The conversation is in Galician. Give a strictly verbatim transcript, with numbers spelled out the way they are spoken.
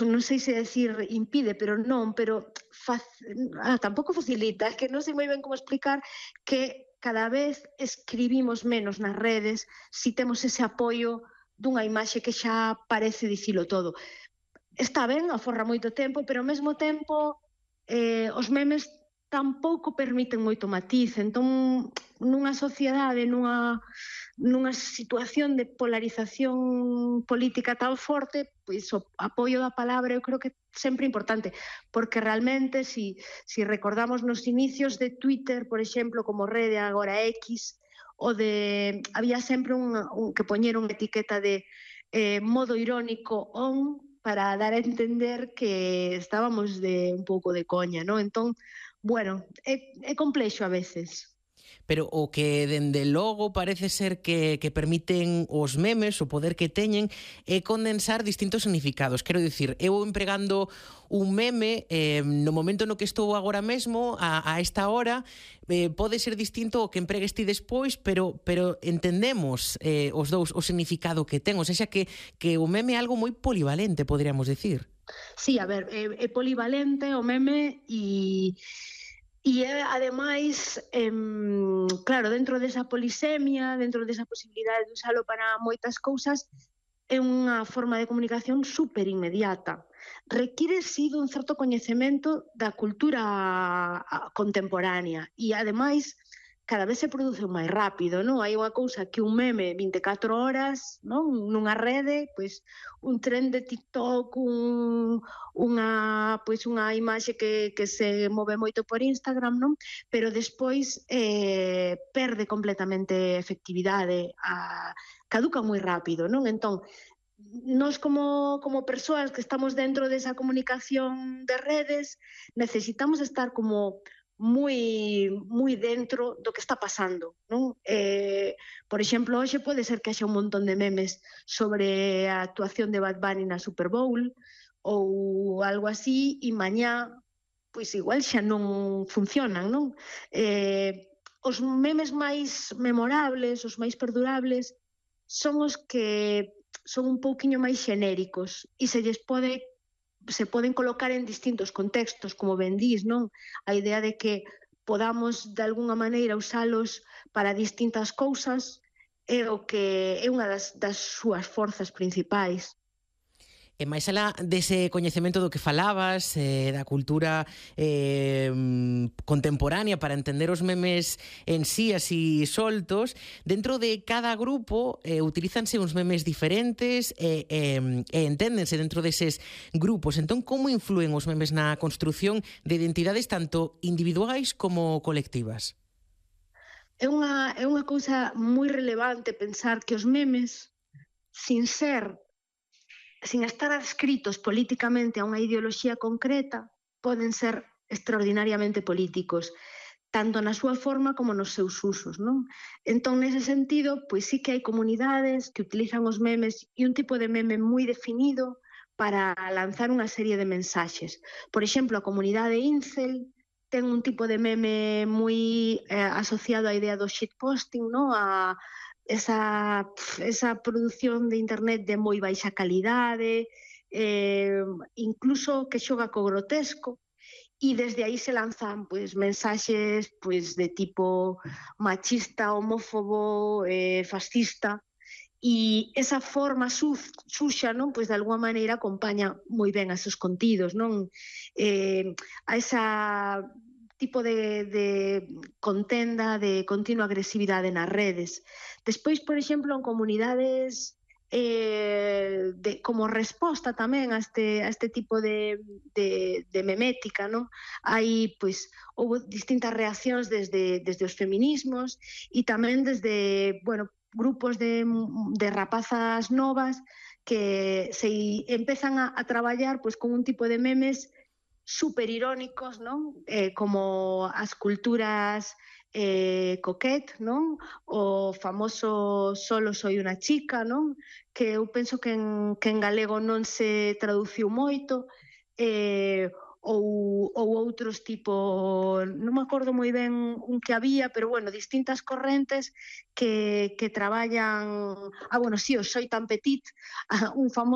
non sei se decir impide, pero non, pero fac... ah, tampouco facilita, que non sei moi ben como explicar que cada vez escribimos menos nas redes si temos ese apoio dunha imaxe que xa parece dicilo todo. Está ben, aforra moito tempo, pero ao mesmo tempo eh, os memes tampouco permiten moito matiz, entón nunha sociedade, nunha, nunha situación de polarización política tan forte, pois o apoio da palabra eu creo que é sempre importante, porque realmente, si, si recordamos nos inicios de Twitter, por exemplo, como rede agora X, o de, había sempre un, un que poñeron etiqueta de eh, modo irónico on, para dar a entender que estábamos de un pouco de coña, non? Entón, bueno, é, é complexo a veces. Pero o que dende logo parece ser que, que permiten os memes, o poder que teñen, é condensar distintos significados. Quero dicir, eu empregando un meme eh, no momento no que estou agora mesmo, a, a esta hora, eh, pode ser distinto o que empregues ti despois, pero, pero entendemos eh, os dous o significado que ten, ou seja que, que o meme é algo moi polivalente, poderíamos decir. Sí, a ver, é, é polivalente o meme e... E é, ademais, eh, claro, dentro desa polisemia, dentro desa posibilidade de usalo para moitas cousas, é unha forma de comunicación super inmediata. Require, sí, dun certo coñecemento da cultura contemporánea e, ademais, cada vez se produce máis rápido, non? Hai unha cousa que un meme vinte e catro horas, non? Nunha rede, pois un tren de TikTok, un, unha, pois unha imaxe que, que se move moito por Instagram, non? Pero despois eh, perde completamente efectividade, a, caduca moi rápido, non? Entón, nós como, como persoas que estamos dentro desa comunicación de redes, necesitamos estar como moi moi dentro do que está pasando, non? Eh, por exemplo, hoxe pode ser que haxa un montón de memes sobre a actuación de Bad Bunny na Super Bowl ou algo así, e mañá, pois igual xa non funcionan, non? Eh, os memes máis memorables, os máis perdurables, son os que son un pouquiño máis xenéricos e se lles pode se poden colocar en distintos contextos, como ben dís, non? A idea de que podamos, de alguna maneira, usalos para distintas cousas é o que é unha das, das súas forzas principais. E máis alá dese coñecemento do que falabas, eh, da cultura eh, contemporánea para entender os memes en sí así soltos, dentro de cada grupo eh, utilízanse uns memes diferentes e eh, eh, enténdense dentro deses grupos. Entón, como influen os memes na construción de identidades tanto individuais como colectivas? É unha, é unha cousa moi relevante pensar que os memes, sin ser sin estar adscritos políticamente a unha ideoloxía concreta, poden ser extraordinariamente políticos, tanto na súa forma como nos seus usos, non? Entón, nese sentido, pois sí que hai comunidades que utilizan os memes e un tipo de meme moi definido para lanzar unha serie de mensaxes. Por exemplo, a comunidade Incel ten un tipo de meme moi eh, asociado á idea do shitposting, non? A esa, esa produción de internet de moi baixa calidade, eh, incluso que xoga co grotesco, e desde aí se lanzan pois, mensaxes pois, de tipo machista, homófobo, eh, fascista, e esa forma suxa, non, pois de alguma maneira acompaña moi ben a seus contidos, non? Eh, a esa tipo de, de contenda, de continua agresividade nas redes. Despois, por exemplo, en comunidades eh, de, como resposta tamén a este, a este tipo de, de, de memética, non? Hai, pois, houve distintas reaccións desde, desde os feminismos e tamén desde, bueno, grupos de, de rapazas novas que se empezan a, a traballar pois, con un tipo de memes super irónicos, non? Eh, como as culturas eh, coquet, non? O famoso solo soy unha chica, non? Que eu penso que en, que en galego non se traduciu moito, eh, ou, ou outros tipo, non me acordo moi ben un que había, pero bueno, distintas correntes que, que traballan, ah, bueno, sí, o soy tan petit, un famoso